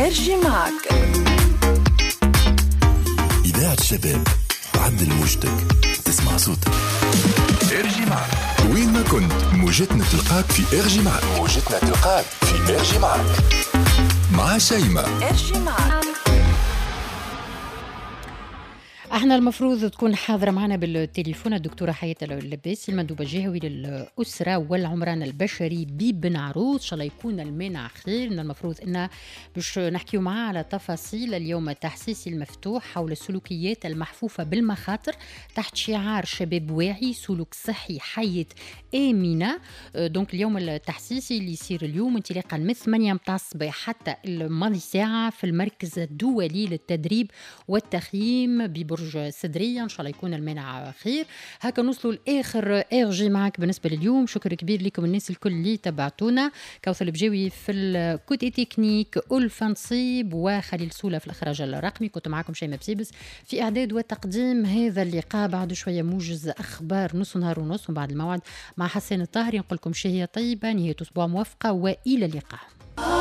RG معك. إذاعة الشباب، عدل موجتك تسمع صوتك. RG معك وين ما كنت، موجتنا تلقاك في RG معك. موجتنا تلقاك في RG معك مع شيماء. RG معك. احنا المفروض تكون حاضرة معنا بالتليفون الدكتورة حياة اللباسي، المندوبة الجهوي للأسرة والعمران البشري ببن عروس. إن شاء الله يكون المانع خير. من المفروض ان باش نحكيو معها على تفاصيل اليوم التحسيسي المفتوح حول السلوكيات المحفوفة بالمخاطر تحت شعار شباب واعي، سلوك صحي، حياة آمنة. donc اليوم التحسيسي اللي يصير اليوم انطلاقا من 8 متاع الصباح حتى الماضي ساعة في المركز الدولي للتدريب والتخييم ببرج سدرية. إن شاء الله يكون المانع خير. هكا نوصلوا لآخر RG معك بالنسبة لليوم. شكر كبير لكم الناس الكل اللي تبعتونا، كوثر البجاوي في ال côté technique، ألفة نصيب وخليل سولة في الإخراج الرقمي. كنت معكم شيماء بسيبس في إعداد وتقديم هذا اللقاء. بعد شوية موجز أخبار نص نهار ونص، وبعد الموعد مع حسين الطاهري. نقول لكم شهية طيبة، نهاية أسبوع موفقة، وإلى اللقاء.